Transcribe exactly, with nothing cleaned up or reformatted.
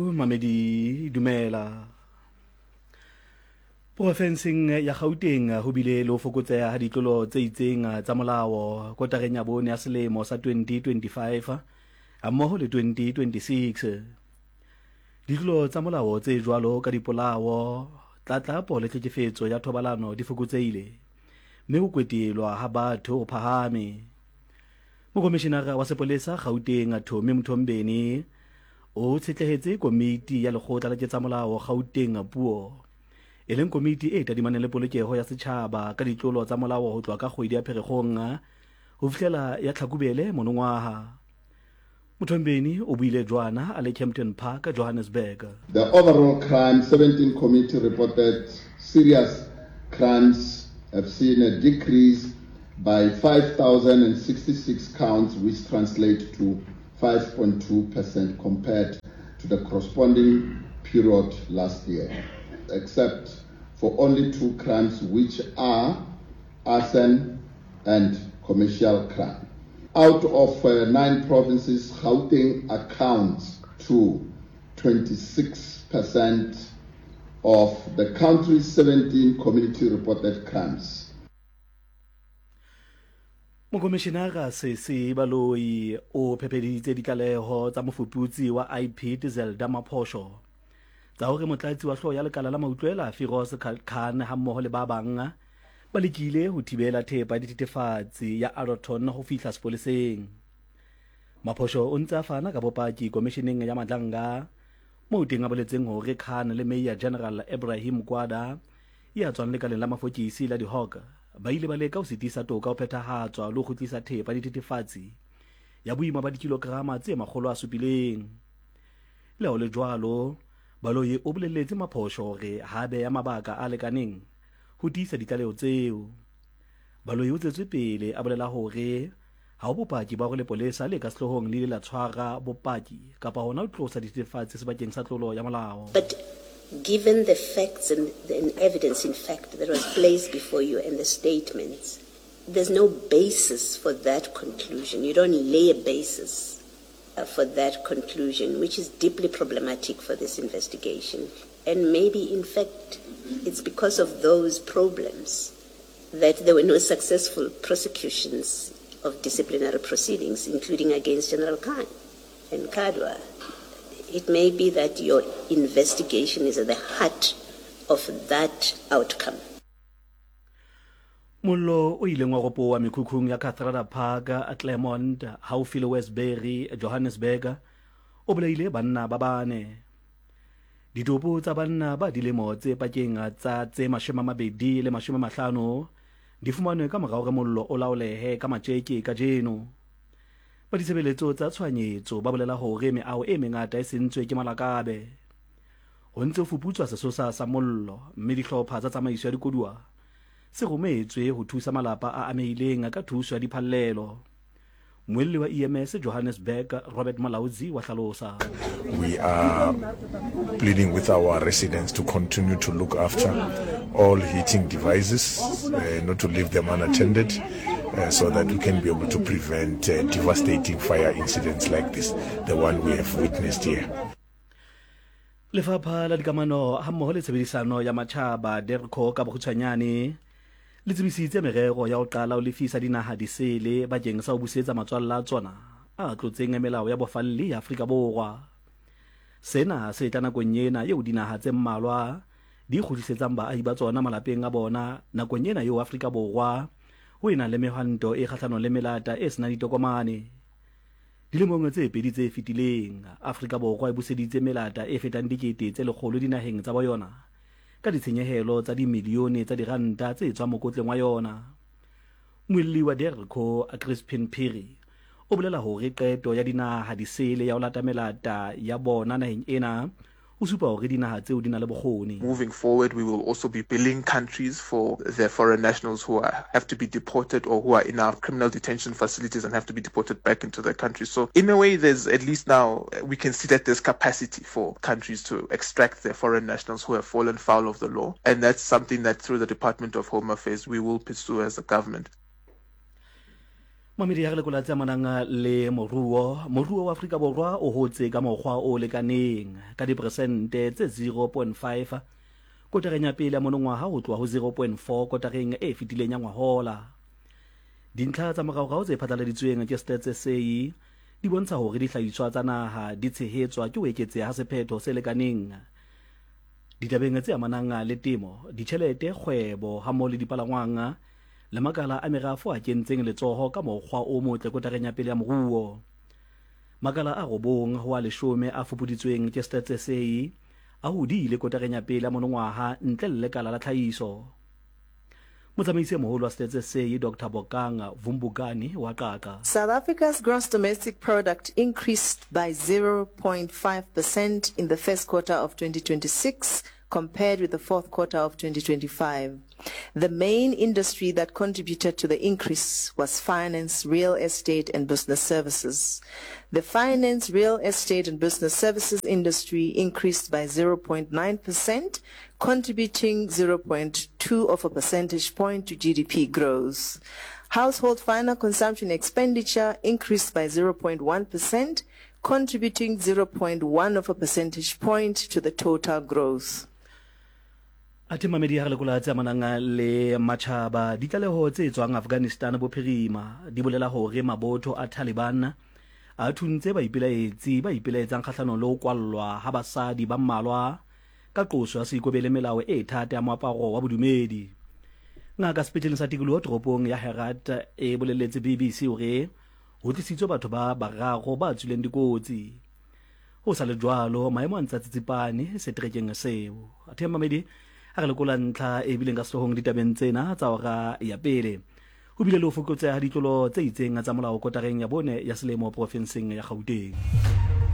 Mamedi dumela. Porofenseng ya Gauteng ho bile le ho fokotseha ha ditlolo tse itseng tsa molao kotareng ya bone ya selemo sa twenty twenty-five hammoho le twenty twenty-six. Ditlolo tsa molao tse jwalo ka dipolao, tlatlapo le tlhekefetso ya thobalano di fokotsehile, mme ho kwetelwa ha batho ho phahame. Mokomishinara wa sepolesa Gauteng Tommy Mthombeni o tshetlehetse komiti ya lekgotla la ketsamolao Gauteng puo, e leng komiti e tadimaneng le polokeho ya setjhaba ka ditlolo tsa molao ho tloha ka kgwedi ya Pherekgong ho fihlela ya Tlhakubele monongwaha. Mthombeni o buile jwana a le Kempton Park, Johannesburg. The overall crime seventeen committee reported serious crimes have seen a decrease by five thousand sixty-six counts, which translate to five point two percent compared to the corresponding period last year, except for only two crimes, which are arson and commercial crime. Out of, uh, nine provinces, Gauteng accounts to twenty-six percent of the country's seventeen community-reported crimes. Mokomishinara Sesi Baloyi o phepeditse ditlaleho tsa mofuputsi wa I P D Zelda Maphosho tsa hore motlatsi wa hlooho ya lekala la mautlwela Firoz Khan hammoho le ba bang ba lekile ho thibela thepa ya dithethefatsi ya Alberton ho fihla sepoleseng. Maphosho o ntse a fana ka bopaki komisheneng ya Madlanga moo teng a boletseng hore Khan le Mayor General Ibrahim Gwada ya tswang lekaleng la mafokisi la di-Hawk ba ile ba leka ho sitisa toka ho phethahatswa le ho kgutlisa thepa ya dithethefatsi ya boima ba dikilograma tse makgolo a supileng. Le ha ho le jwalo, Baloyi o boleletse Maphosho hore ha beya mabaka a lekaneng ho tiisa ditlaleho tseo. Baloyi o tswetse pele a bolela hore ha ho bopaki ba hore lepolesa le ka sehloohong le ile la tshwara bopaki kapa hona ho tlosa dithethefatsi sebakeng sa tlolo ya molao. But given the facts and the evidence, in fact, that was placed before you and the statements, there's no basis for that conclusion. You don't lay a basis, uh, for that conclusion, which is deeply problematic for this investigation. And maybe, in fact, it's because of those problems that there were no successful prosecutions of disciplinary proceedings, including against General Khan and Kadwa. It may be that your investigation is at the heart of that outcome. Mollo o ileng wa ropowa mekhukhung ya Kathrada Park, Claremont, haufi le Westbury, Johannesburg, o bolaile banna ba bane. Ditopo tsa banna ba dilemo tse pakeng tsa tse mashome a mabedi le mashome a mahlano di fumanwe ka morao hore mollo o laolehe ka matjeke kajeno. Ba ditshebeletso tsa tshohanyetso ba bolela hore meaho e mengata e sentswe ke malakabe. Ho ntse ho fuputswa sesosa sa mollo, mme dihlopha tsa tsamaiso ya dikoduwa se rometswe ho thusa malapa a amehileng ka thuso ya diphallelo. Mmuelli wa E M S Johannesburg Robert Molaudzi wa hlalosa. We are pleading with our residents to continue to look after all heating devices, uh, not to leave them unattended, uh, so that we can be able to prevent, uh, devastating fire incidents like this, the one we have witnessed here. Lefapha la dikamano hammoho le tshebedisano ya matjhaba DIRCO ka bokgutshwanyane le tsebisitse merero ya ho qala ho lefisa dinaha disele bakeng sa ho busetsa matswalla a tsona a tlotseng melao ya bofalli ya Afrika Borwa. Sena se tla nakong ena eo dinaha tse mmalwa di kgutlisetsang baahi ba tsona malapeng a bona nakong ena eo Afrika Borwa ho ena le mehwanto e kgahlanong le melata e senang ditokomane. Dilemong tse pedi tse fetileng, Afrika Borwa e buseditse melata e fetang dikete tse lekgolo dinaheng tsa boyona ka ditshenyehelo tsa dimilione tsa diranta tse tswang mokotleng wa yona. Mmuelli wa DIRCO Crispin Phiri o bolela hore qeto ya dinaha disele ya ho lata melata ya bona naheng ena o supa hore dinaha tseo di na le bokgoni. Moving forward, we will also be billing countries for their foreign nationals who are, have to be deported or who are in our criminal detention facilities and have to be deported back into their country. So in a way, there's at least now we can see that there's capacity for countries to extract their foreign nationals who have fallen foul of the law. And that's something that through the Department of Home Affairs we will pursue as a government. Mamedi ya re lekola tse amanang le moruo. Moruo wa Afrika Borwa o hotse ka mokgwa o lekaneng ka diperesente tse zero point five kotareng ya pele ya monongwaha ho tloha ho zero point four kotareng e fetileng ya ngwahola. Dintlha tsa moraorao tse phatlaladitsweng ke Stats S A di bontsha hore dihlahiswa tsa naha di tshehetswa ke ho eketseha ha sephetho se lekaneng ditabeng tse amanang le temo, ditjhelete, kgwebo hammoho le dipalangwang le makala a merafo a kentseng letsoho ka mokgwa o motle kotareng ya pele ya moruo. Makala a robong ho a leshome a fupuditsweng ke Stats S A a hodile kotareng ya pele ya monongwaha ntle le lekala la tlhahiso. Motsamaisi e moholo wa Stats S A Doctor Bokang Vumbukani wa Qaqa. South Africa's gross domestic product increased by zero point five percent in the first quarter of twenty twenty-six compared with the fourth quarter of twenty twenty-five. The main industry that contributed to the increase was finance, real estate, and business services. The finance, real estate, and business services industry increased by zero point nine percent, contributing zero point two of a percentage point to G D P growth. Household final consumption expenditure increased by zero point one percent, contributing zero point one of a percentage point to the total growth. Athe mamedi ha re lekola tse amanang le matjhaba, ditlaleho tse tswang Afghanistan bophirima di bolela hore mabotho a Taliban a thuntse baipelaetsi ba ipelaetsang kgahlanong le ho kwallwa ha basadi ba mmalwa ka qoso ya seikobele melao e thata ya moaparo wa bodumedi. Ngaka sepetleleng sa tikoloho toropong ya Herat e boleletse B B C hore ho tlisitswe batho ba bararo ba tswileng dikotsi. Ho sa le jwalo, maemo a ntse a tsitsipane seterekeng seo. Athe mamedi ha re lekola ntlha e bileng ka sehloohong ditabeng tsena tsa hora ya pele. Ho bile le ho fokotseha ha ditlolo tse itseng tsa molao kotareng ya bone ya selemo profenseng ya Gauteng.